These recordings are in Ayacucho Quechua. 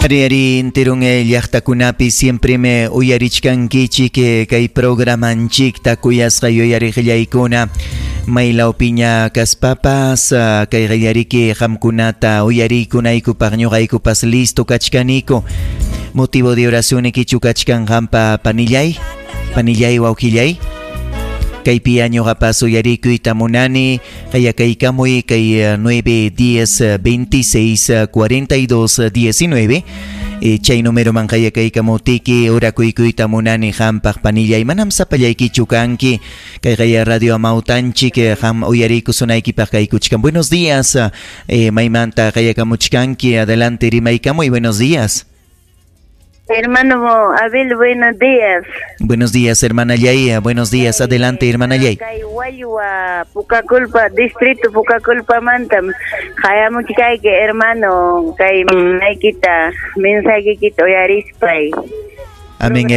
Ari ari enteron llaqtakunapi siempre me uyarichkankichik kay programanchikta kuyasqa yuyariqllaykuna maylawpiña kaspapas kay qallariki qamkunata uyariykunaykupaq ñuqaykupas listo kachkaniku. Motivo de oración ikichu kachkan qampa panillay, panillay wawqillay. Kaypi ñuqapas uyarikuyta munani qayakaykamuy kay 9 10 26 42 19 chay numeroman qayakaykamuptiki orakuykuyta munani qampaq panillay manam sapallaykichu kanki kay qaya radio amawtanchik qam uyariykusunaykipaq kaykuchkan. Buenos días, maymanta qayakamuchkanki, adelante rimaykamuy, buenos días. Hermano Abel, buenos días. Buenos días, hermana Yaya. Buenos días, adelante, hermana Yay. Kay Wallwa, Pucaculpa, distrito Pucaculpa mantam. Qayamuchkayki, hermano, kay maykita, mensajeykita uyarispay. Amén,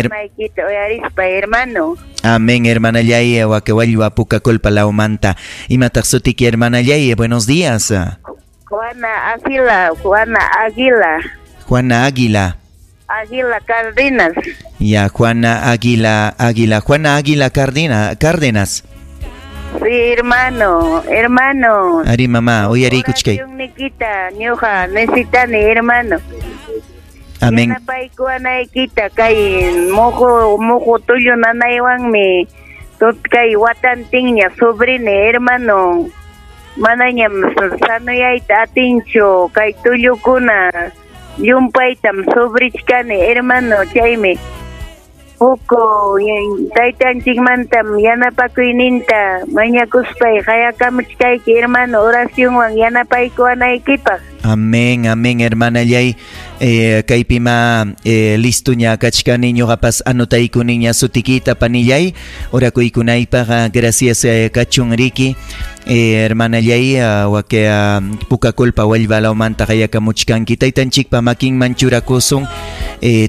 hermano. Amén, hermana Yaya, Wallwa, Pucaculpa, Laumanta. Imataq sutiki, hermana Yaya, buenos días. Juana Águila, Juana Águila. Juana Águila. Águila Cárdenas. Ya, Juana Águila, Águila, Juana Águila Cárdenas. Sí, hermano, hermano. Ari mamá, uyarikuchkay. Nikita, ñuqa necesitani, hermano. Amén. Yanapaykuwanaykita kay muhu muhu tullu nanaywanmi kay watantinña sobrini, hermano. Manañam sanuyayta atinchu kay tullukuna. Llumpaytam sobrichkani, hermano, chaymi huk taytanchikmantam yanapakuyninta mañakuspay qayakamuchkayki, hermano, oracionwan yanapaykuwanaykipaq. Amén, amén, hermana Yay. Kaypima listo ña kachkani ñuqapas anotaykuniña sutikita panillay orakuykunaypaq, gracias kachun riki. Hermana Yay, wake Pucaculpa Wallwa lawmanta qayakamuchkanki taytanchikpa makinman churakusun.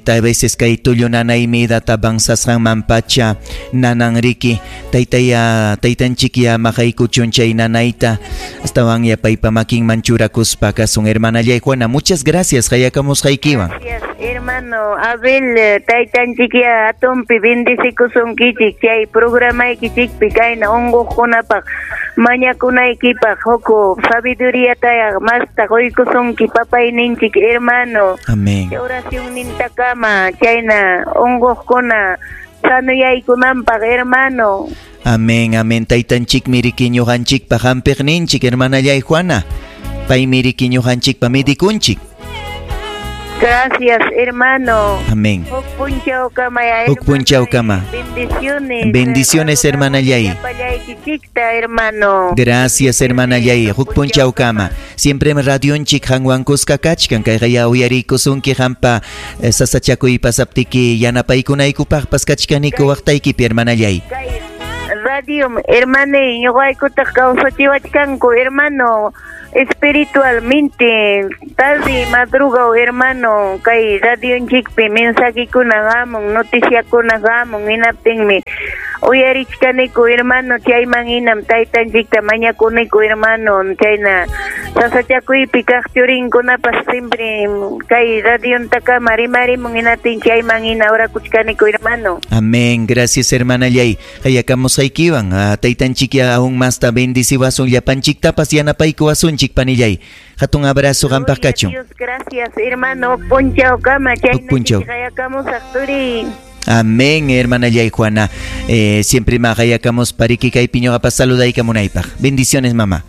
Ta veces kay tullu nanaymi data avanzasqanman pacha nanan riki taytaya taytanchikya maqaykuchun chay nanayta astawan yapaypa makinman churakuspa kasun. Hermana Yay Juana, muchas gracias qayakamusqaykiwan. Gracias, hermano Abel, taytanchikya atumpi bendecikusunkichik chay programaykichikpi kayna unquqkunapaq mañakunaykipaq huk sabiduría masta quykusunki papayninchik, hermano. Amén. Oracionnintakama chayna unquqkuna sanuyaykunanpaq, hermano. Amén, amén. Taytanchikmi riki ñuqanchikpa hampiqninchik, hermana Yay Juana. Paymi riki ñuqanchikpa medikunchik. Gracias, hermano. Amén. Huk punchawkama, Huk punchawkama. Bendiciones. Bendiciones, hermana Yay. Hermano. Gracias, hermana Yay. Huk punchawkama. Siempre radionchik qanwan kuska kachkan kayqa uyariykusunki qampa sasachakuy pasaptiki yanapaykunaykupaqpas kachkaniku waqtaykipi, hermana Yay. Radio, hermano, ñuqaykutaq kawsachiwachkanku, hermano. Espiritualmente, tarde madruga, hermano, kay radionchikpi mensajekuna hamun, noticiakuna hamun, hinaptinmi uyarichkaniku, hermano, chayman hinam taytanchikta mañakuniku, hermano, chayna sasachakuypi kaq churinkunapas siempre kay radiontakama rimarimun hinaptin chayman hina orakuchkaniku, hermano. Amén, gracias, hermana Yay. Qayakamusqaykiwan, taytanchikya aún masta bendiciwasun llapanchiktapas yanapaykuwasunchik, panillay. Hatun abrazo qampaq kachun. Dios, gracias, hermano. Punchawkama, Huk punchaw. chayna turi. Amén, hermana Yay Juana. Siempre ma qayakamos pariki kaypi ñuqapas saludaykamunaypaq. Bendiciones, mamá.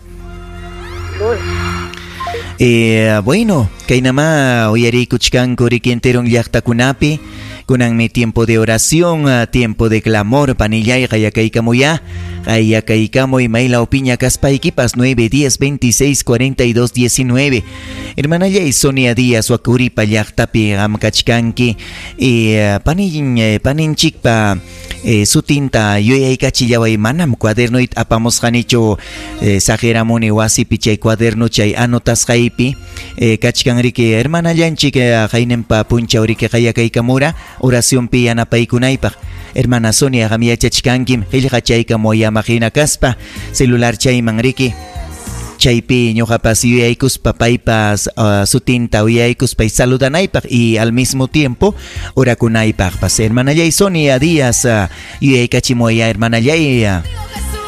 Bueno, kaynama uyariykuchkanku riki enteron llaqtakunapi. Kunanmi tiempo de oración, tiempo de clamor, panillay qayakaykamuya. Qayakaykamuy maylawpiña kaspaykipas 9 10 26 42 19. Hermana Yay Sonia Díaz Wakuripa llaqtapi qamkachkanki. Paninchikpa sutinta yuyaykachillaway manam cuadernoyta apamusqanichu, saqiramuni wasipi chay cuaderno chay anotasqaypi. Kachkan riki hermanallanchik qayninpa punchaw riki qayakaykamura oracionpi yanapaykunaypaq. Hermana Sonia qam yachachkankim qillqachaykamuy amaqhina kaspa celular chayman riki. Chaypi ñuqapas yuyaykuspa paypas sutinta uyaykuspa y saludanaypaq y al mismo tiempo orakunaypaqpas. Hermanallay Sonia Díaz, yuyaykachimuwaya hermanallay.